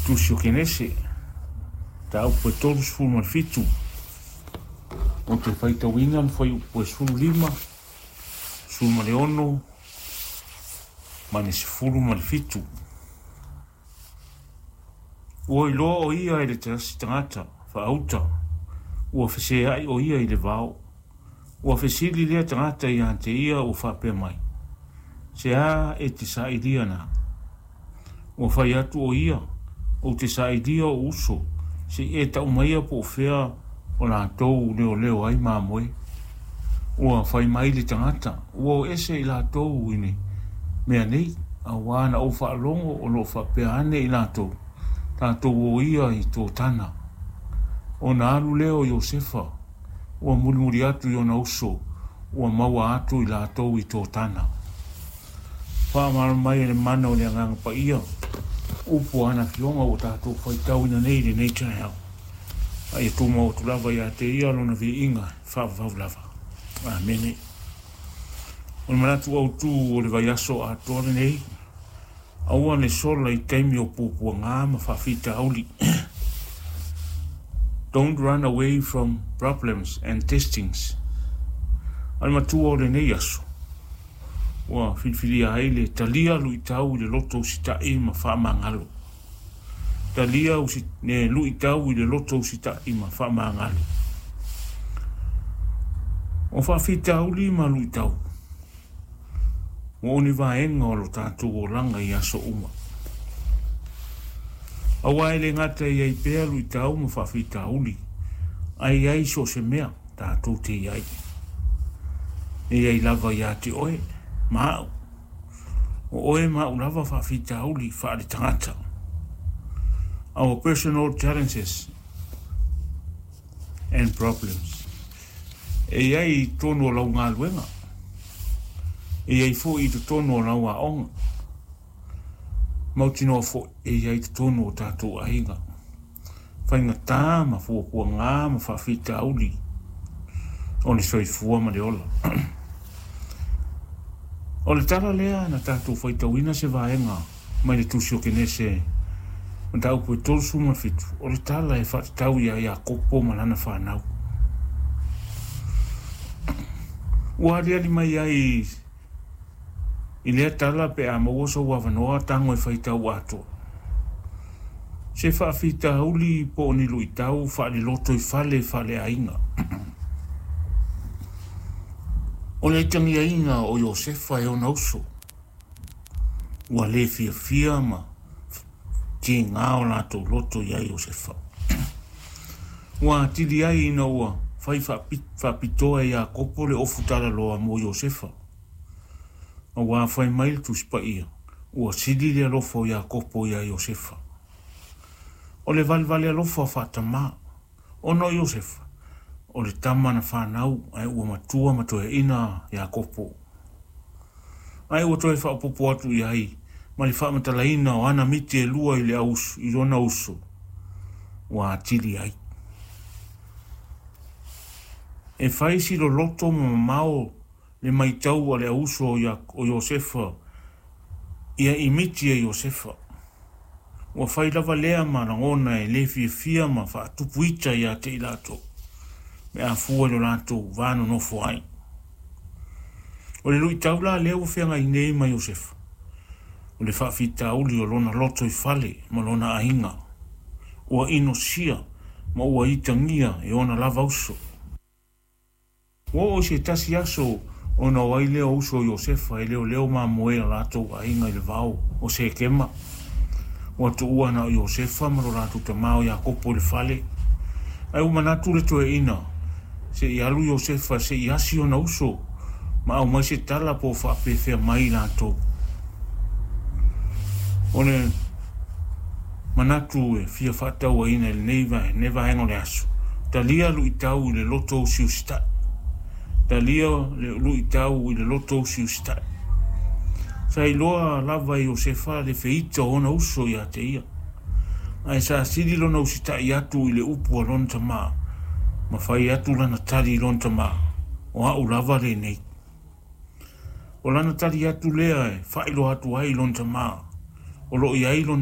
Tusi o Kenese, mataupu e 37. Ou te faitauina le fuaiupu e 15, 16 ma le 17. Ua iloa o ia e le tasi tagata faauta, ua feseai o ia i le vao. Ua fesili lea tagata ia te ia ua faapea mai, Se a e te sailia na? Ua fai atu o ia, Ou te sailia o'u uso, se i e tau maia po o fea o latou leoleo ai mamoe. Ua fai mai le tagata, Ua o ese i latou i le mea nei, auā na ou faalogo o lo o faapea ane i latou, Tatou o ia i Totana. Ona alu lea o Iosefa, ua mulimuli atu i ona uso, ua maua atu i latou i Totana. Faamalo mai e le mana o le Agaga Paia, upu a ana Afioga ua tatou faitauina nei i lenei taeao. A ia tumau atu lava ia te Ia Lona viiga e faavavau lava. Amene. O le manatu autu o le vaiaso atoa lenei, aua ne sola i taimi o puapuaga ma faafitauli. Don't run away from problems and testings. A le matua o lenei aso, ua filifilia ai le talia luitau i le loto usitai ma faamagalo. Talia le luitau i le loto usitai ma faamagalo. O faafitauli ma luitau, ua o ni vaega o lo tatou olaga i aso uma. Aua e le gata e i ai pea luitau ma faafitauli, ae i ai so o se mea tatou te i ai. E i ai lava ia te oe ma au. O oe ma au lava faafitauli faaletagata. Our personal challenges and problems. E i ai i totonu o lau galuega. E i ai foi i totonu o lau aoga. Mautinoa foi e i ai i totonu o tatou aiga. Faigata ma fuafuaga ma faafitauli o le soifua ma le ola. O le tala lea na tatou faitauina se vaega mai le Tusi o Kenese mataupu e 37, o le tala e faatatau ia Iakopo ma lana fanau. Ua aliali mai ai i lea tala pe a maua sou avanoa tago e faitau atoa. Se faafitauli po o ni luitau faaleloto i fale faaleaiga. O le aitagiaina o Iosefa e ona uso, ua le fiafia ma tiga o latou loto iā Iosefa. Ua atili ai ina ua fai faapitoa e Iakopo le ofu talaloa mo Iosefa. Auā fai mai le Tusi Paia, ua sili le alofa o Iakopo iā Iosefa. O le valevale alofa faatamā, ona o Iosefa, o le tama na fanau ae ua matua ma toeaina Iakopo. Ae ua toe faaopoopo atu i ai ma le faamatalaina o ana miti e lua i le auuso, i lona uso, ua atili ai. E fai si loloto ma mamao le maitau a le auuso o Iosefa ia i miti e Iosefa. Ua fai lava lea ma lagona e le fiafia ma faatupu ita ia te i latou, pe a fua i lo latou va nonofo ai. O le luitau la lea ua feagai nei ma Iosefa, o le faafitauli o lona loto i fale ma lona aiga, ua inosia ma ua itagia e ona lava uso. Ua oo i se tasi aso ona o ai lea o uso o Iosefa e leoleo mamoe a latou aiga i le vao o Sekema. Ua tuua na o Iosefa ma lo latou tamā o Iakopo i le fale. Ae ua manatu le toeaina, se i alu Iosefa se i asi ona uso ma aumai se tala po o faapefea mai i latou. O le manatu e fia faatauaina i lenei vaega o le aso, talia luitau i le loto usiusitai. Talia le luitau i le loto usiusitai. Sa iloa lava e Iosefa le feita o ona uso ia te ia. Ae sa sili lona usitai atu i le upu a lona tamā, ma fai atu lana tali i lona tamā, O au lava lenei. O lana tali atu lea e faailoa atu ai i lona tamā, o lo o i ai lona